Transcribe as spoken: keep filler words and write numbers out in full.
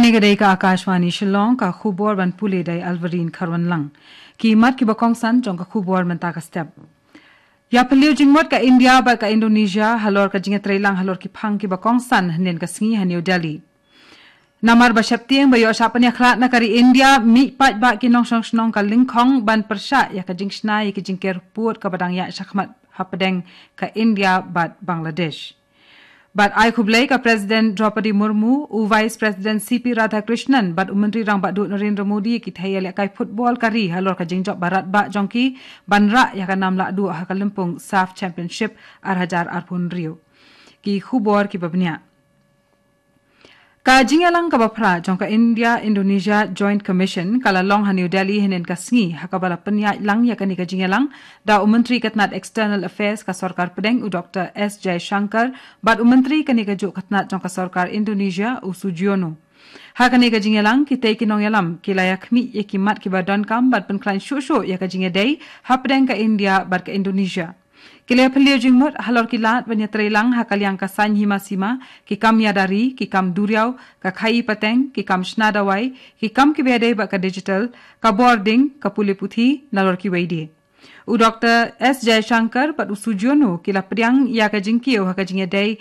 Kane ka dei ka Akashvani Shillong, ka khubor ban pule da i Alvarin Kharwanlang. Ki mat kiba kongsan jong ka khubor mynta ka step. Ïa pynliew jingmut ka India bad ka Indonesia halor ka jingïatreilang halor ki phang kiba kongsan hynnin ka sngi ha New Delhi. Namar ba sheptieng ba ïoh shah pynïakhlad na ka ri India, mih paidbah ki nongshong shnong ka lyngkhong ban pyrshah ïa ka jingshna ïa ki jingker pud kaba dang ïaid shakhmat hapdeng ka India bad Bangladesh. Bad ai khublei ka President Droupadi Murmu, u Vice President C P Radhakrishnan bad u Myntri Rangbah Duh Narendra Modi ïa ki thei ïalehkai football ka ri halor ka jingjop ba radbah jong ki ban rah ïa ka nam lahduh ha ka lympung SAFF Championship ar hajar arphew hynriew. Ki khubor kiba bniah. Ka jingïalang kaba phra jong ka India Indonesia Joint Commission ka la long ha New Delhi hynnin ka sngi, ha kaba la pynïaid lang ïa kane ka jingïalang da u Myntri ka tnad External Affairs ka sorkar pdeng, u Doctor S Jaishankar, bad u Myntri kane kajuh ka tnad jong ka sorkar Indonesia, u Sugiono. Ha kane ka jingïalang, kitei ki nongïalam ki la ïakhmih ïa ki mat kiba donkam bad pynkhlaiñ shuh shuh ïa ka jingïadei hapdeng ka India bad ka Indonesia. Ki la pynliew jingmut halor ki lad ban ïatreilang ha ka liang ka saiñ hima sima, ki kam ïada ri, ki kam duriaw, ka khaii pateng, ki kam shna dawai, ki kam kiba ïadei bad ka digital, ka bording, ka pule puthi, nalor kiwei de. U Doctor S Jaishankar bad u Sugiono ki la pdiang ïa ka jingkiew ha ka jingïadei